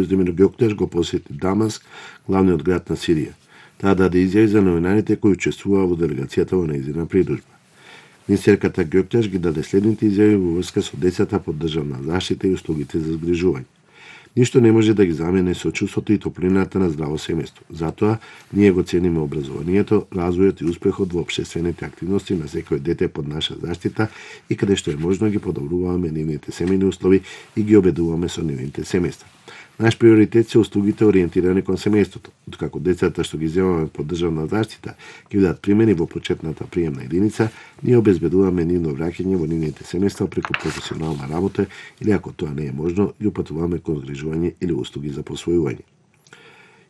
Оздемир Гьоктеш го посети Дамаск, главниот град на Сирија. Таа даде изјави за новинарите кои учествуваа во делегацијата во нејзина придружба. Министерката Гьоктеш ги даде следните изјави во врска со децата под државна заштита и услугите за згрижување. Ништо не може да ги замени со чувството и топлината на здраво семејство. Затоа, ние го цениме образованието, развојот и успехот во општествените активности на секој дете под наша заштита и каде што е можно ги подобруваме нивните семејни услови и ги обедуваме со нивните семејства. Наш приоритет се услугите ориентирани кон семејството, откако децата што ги земаме под државна заштита ги бидат примени во почетната приемна единица, ние обезбедуваме нивно враќање во нивните семејства преку професионална работа или ако тоа не е можно, ги упатуваме кон згрижување или услуги за посвојување.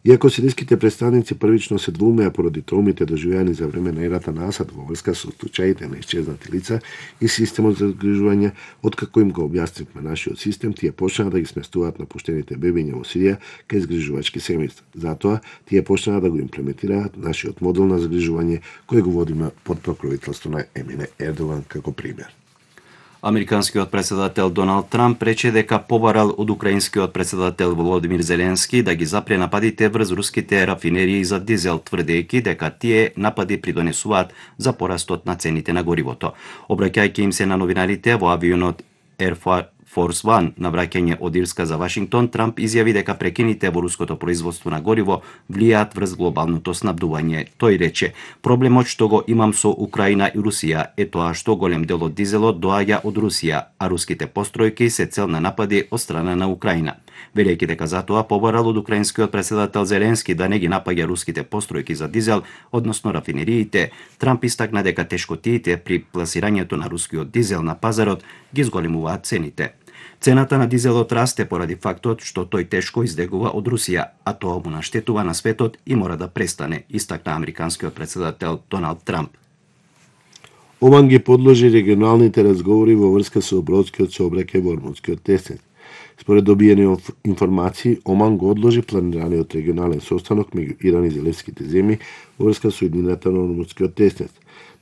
Иако сириските представници првично се двумеа поради траумите доживеани за време на ерата на Асад во врска со случаите на исчезнати лица и системот за згрижување, откако им го објаснивме нашиот систем, тие почнаа да ги сместуваат напуштените бебиња во Сирија кај згрижувачки семејства. Затоа, тие почнаа да го имплементираат нашиот модел на згрижување кој го водиме под покровителство на Емине Ердоган како пример. Американскиот председател Доналд Трамп рече дека побарал од украинскиот председател Володимир Зеленски да ги запре нападите врз руските рафинерии за дизел, тврдејќи дека тие напади придонесуваат за порастот на цените на горивото. Обраќајќи им се на новинарите во авионот Air Force One на враќање од Ирска за Вашингтон, Трамп изјави дека прекините во руското производство на гориво влијаат врз глобалното снабдување. Тој рече: "Проблемот што го имам со Украина и Русија е тоа што голем дел од дизелот доаѓа од Русија, а руските постројки се цел на напади од страна на Украина." Велејќи дека затоа побарал од украинскиот председател Зеленски да не ги напаѓа руските постројки за дизел, односно рафинериите, Трамп истакна дека тешкотиите при пласирањето на рускиот дизел на пазарот ги зголемуваат цените. Цената на дизелот расте поради фактот што тој тешко издегува од Русија, а тоа му наштетува на светот и мора да престане, истакна американскиот председател Доналд Трамп. Оман ги подложи регионалните разговори во врска со бродскиот сообраќај во Ормудскиот теснет. Според добиени информации, Оман го одложи планираниот регионален состанок меѓу Иран и Зелевските земји во врска со иднината на Ормудскиот теснет.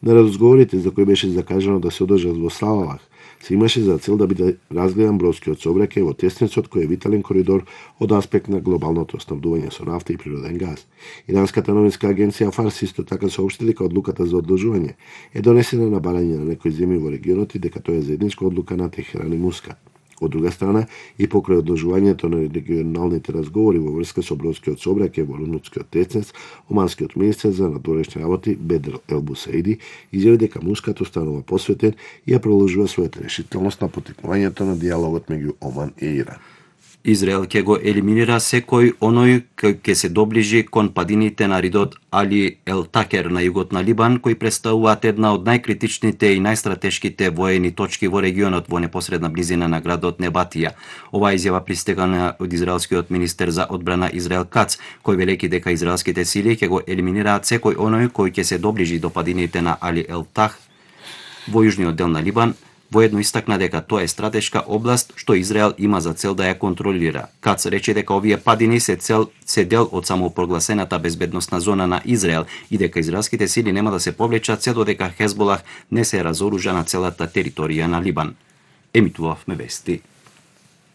На разговорите за кои беше закажано да се одржат во Салавах, се имаше за цел да биде разгледан бродскиот сообраќај во теснецот кој е витален коридор од аспект на глобалното снабдување со нафта и природен газ. Иранската новинска агенција Фарс исто така соопшти дека одлуката за одложување е донесена на барање на некои земји во регионот и дека тоа е заедничка одлука на Техеран и Мускат. Од друга страна, и покрај одложувањето на регионалните разговори во врска со бродскиот сообраќај во Ормудскиот теснец, оманскиот министер за надворешни работи Бедр Ел Бусаиди изјави дека Мускат останува посветен и ја продолжува својата решителност на поттикнувањето на дијалогот меѓу Оман и Иран. Израел ќе го елиминира секој оној кој ќе се доближи кон падините на ридот Али Ел Такер на југот на Либан, кои представуваат една од најкритичните и најстратешките воени точки во регионот во непосредна близина на градот Небатија. Оваа изјава пристигна од израелскиот министер за одбрана Израел Кац, кој велејќи дека израелските сили ќе го елиминираат секој оној кој ќе се доближи до падините на Али Ел Тах во јужниот дел на Либан. Воедно истакна дека тоа е стратешка област што Израел има за цел да ја контролира. Кац рече дека овие падини се дел од самопрогласената безбедносна зона на Израел и дека израелските сили нема да се повлечат се додека Хезболах не се разоружа на целата територија на Либан. Емитувавме вести.